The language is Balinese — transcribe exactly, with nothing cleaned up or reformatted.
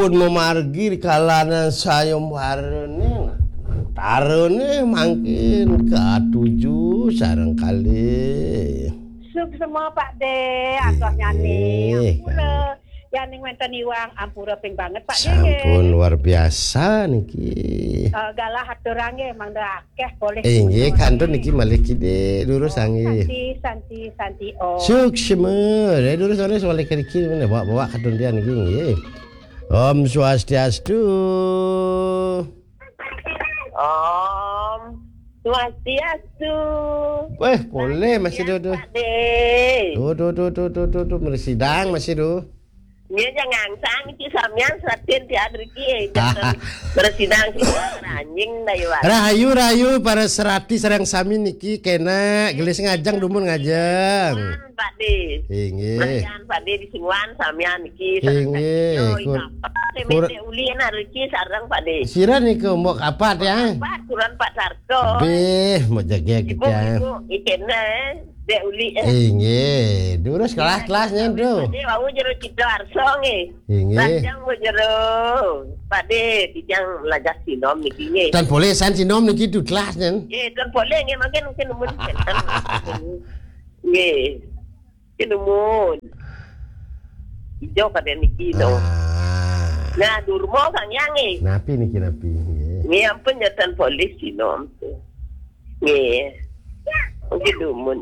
Pun mamargi ri kalanan sayembarane, antarane mangkin katuju sareng kalih. Suksma, Pak De, aturnyane. Nggih, ampura. Yaning wenten iwang, ampura ping banget, Pak De, nggih. Sampun luar biasa niki. Eh, galah aturang nggih, mangda akeh polih. Inggih, kantun niki malih kidih, durus. Oh, nggih. Santi, santi, santi, Om. Suksma, ya, durus, durus, malih niki, bawa-bawa kantun tiang niki, nggih. Om Swastiastu. Om Swastiastu. Weh, polih masih. Pak De. Duh, duh, duh, duh, duh, duh, duh, mresidang masih, duh. Nggih, jangan sang iki samian seratin tiap riki, eh, jangan mresidang sing ranjing dah, ya, Pak. Rahayu, rahayu, para serati sareng sami niki kena gelis ngajeng dumun ngajeng. Pak De. Inggih. Mangkin Pak De di Singwan samian niki. Inggih. Yo, kur-, apa? Kur-, Dek Uli niki sareng Pak De. Sira niku mbok kapat ya? Kapat, kuran Pak Sarto. Bih, mau jegeg. Ibu, ya. Ibu, ikene, Dek Uli, eh. Inggih. Durus kelas-kelasnya, Pak De, wau jero Sidoarso nggih. Inggih. Lajeng wau jero Pak De, titiang lajah sinom niki nggih. Tan polih san sinom niki duh kelas nyen. Nggih, tan polih nggih, mangkin, mangkin numun. Nggih. Numun. Ijo kadang niki, no. Ah. Nah, durma Sang Hyang, nggih. Napi niki, napi, nggih. Nggih, ampun, nyotan polih sinom. Nggih. Mangkin numun.